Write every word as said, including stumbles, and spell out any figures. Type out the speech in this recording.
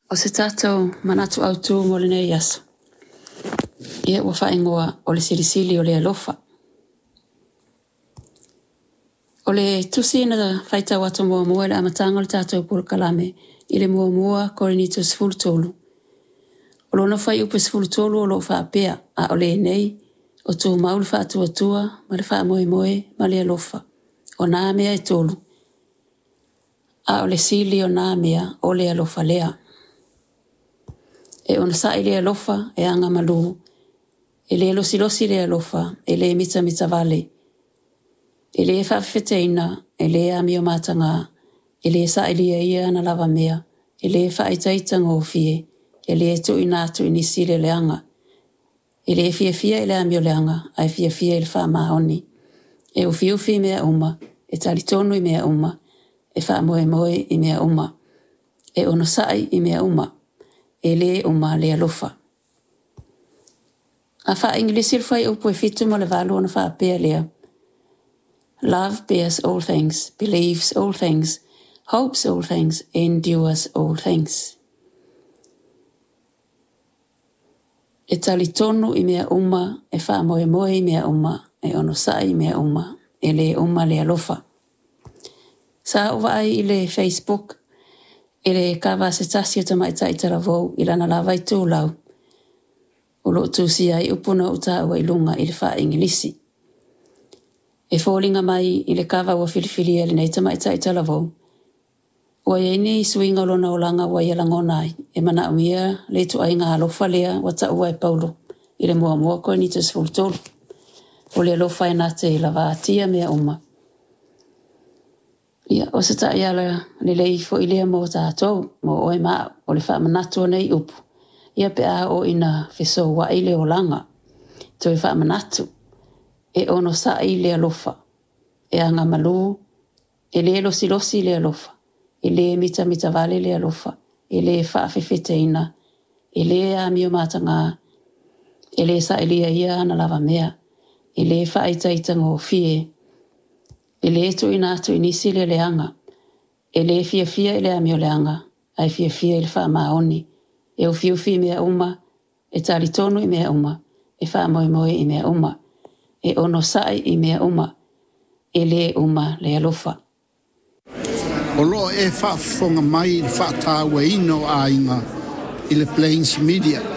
O se tatou manatu autu mo lenei aso, ia ua faaigoa o le silisili o le alofa. O le tusi na faitau atu muamua i le amataga o le tatou polokalame i le muamua Korinito sefulu tolu, o lona fuaiupu sefulu tolu o lo o faapea, a o lenei, o tumau le faatuatua ma le faamoemoe ma le alofa, o nā mea e tolu, a o le sili o nā mea o le alofa lea. E onosai le alofa, e agamalu, e le losilosi le alofa, e le mitamitavale, e le faafefeteina, e le amio mataga, e le sailia ia ana lava mea, e le faaitaitagofie, e le tuuina atu i nisi le leaga, e le fiafia i le amioleaga, ae fiafia i le faamaoni. E ufiufi i mea uma, e talitonu i mea uma, e faamoemoe i mea uma, e onosai i mea uma, e le uma le alofa. A faa-Igilisi le fuaiupu e fitu ma le valu ona faapea lea, Love bears all things, believes all things, hopes all things, endures all things. E talitonu i mea uma, e faamoemoe i mea uma, e onosai i mea uma, e le uma le alofa. Sa ou vaai i le Facebook i le kava a se tasi o tamaitai talavou i lana lava itulau o lo o tusia ai upu na ou taua i luga i le faa-Igilisi. E foliga mai i le kava ua filifilia e lenei tamaitai talavou, ua i ai ni suiga o lona olaga ua ia lagona ai, e manaomia le ituaiga alofa lea ua taua e Paulo i le muamua Korinito sefulu tolu, o le alofa e na te lavatia mea uma. Ia, o se taiala lelei foi lea mo tatou, mo oe ma au, o le faamanatu o nei upu, ia pe a oo ina fesoua'i le olaga. Toe faamanatu, e onosai le alofa, e agamalu, e le losilosi le alofa, e le mitamitavale le alofa, e le faafefeteina, e le amio mataga, e le sailia ia ana lava mea, e le faaitaitagofie, e le tuuina atu i nisi le leaga, e le fiafia i le amioleaga, ae fiafia i le faamaoni, e ufiufi i mea uma, e talitonu i mea uma, e faamoemoe i mea uma, e onosai i mea uma, e le uma le alofa. O lo o e faafofoga mai i le faatauaina o aiga i le Plains Media.